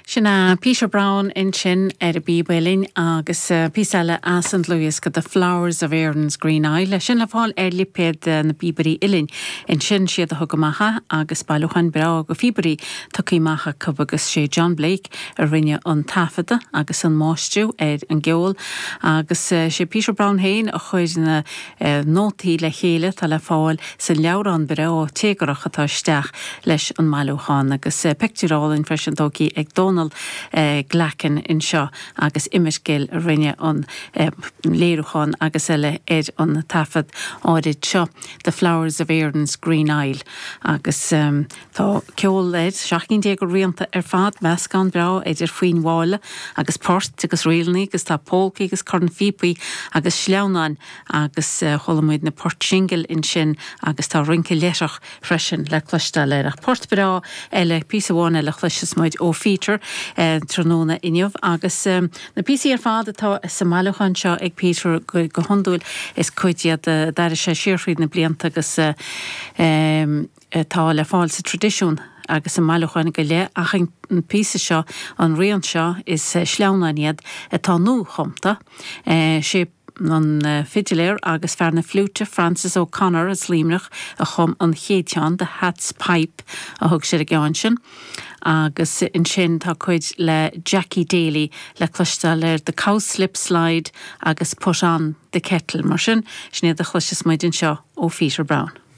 Sin é Peter Browne ansin ar an bpíb uilleann agus píosa eile as an dlúthdhiosca The Flowers of Erin's Green Isle, é sin le fáil ar lipéad na bPíobairí Uilleann. Ansin siad a thug amach é agus bailiúchán breá de phíobairí tugtha amach acu agus sé John Blake a rinne an taifeadadh agus an máistriú ar an gceol agus sé Peter Browne féin a chuir na nótaí le chéile atá le fáil sa leabhrán breá téagarthach atá isteach leis an mbailiúchán agus pictiúr álainn freisin tógtha ag Dónal Glackin anseo agus Emmet Gill a rinne an léiriúchán agus eile ar an taifead áirid seo, The Flowers of Erin's Green Isle agus. Tá ceol air, 17 cinn de rianta ar fad, meascán breá idir foinn mhalla agus poirt agus ríleanna agus tá pólcaí agus cornphíopaí agus sleamhnáin agus chuala muid na poirt singil ansin agus tá rince leithreach freisin le cloisteáil air. Ach port breá eile, píosa amháin eile a chloisfeas muid ó Pheter tráthnóna inniu agus na píosaí ar fad atá sa mbailiúchán seo ag Peter go hiondúil is cuid iad a d'airigh sé siar thríd na blianta agus atá le fáil sa traidisiún agus i mbailiúcháin go leith ach an píosa seo, an rian seo, is sleamhnáin iad atá nuachumtha. Sé an fidiléir agus fear na fliúite Francis O'Connor as Luimneach a chum an chéad cheann, The Hat's Pipe a thug sé ar an gceann sin, agus ansin tá cuid le Jackie Daly le cloisteáil ar The Cowslip Slide agus Put On The Kettle. Mar sin, sin iad a chloisfeas muid anseo ó Pheter Browne.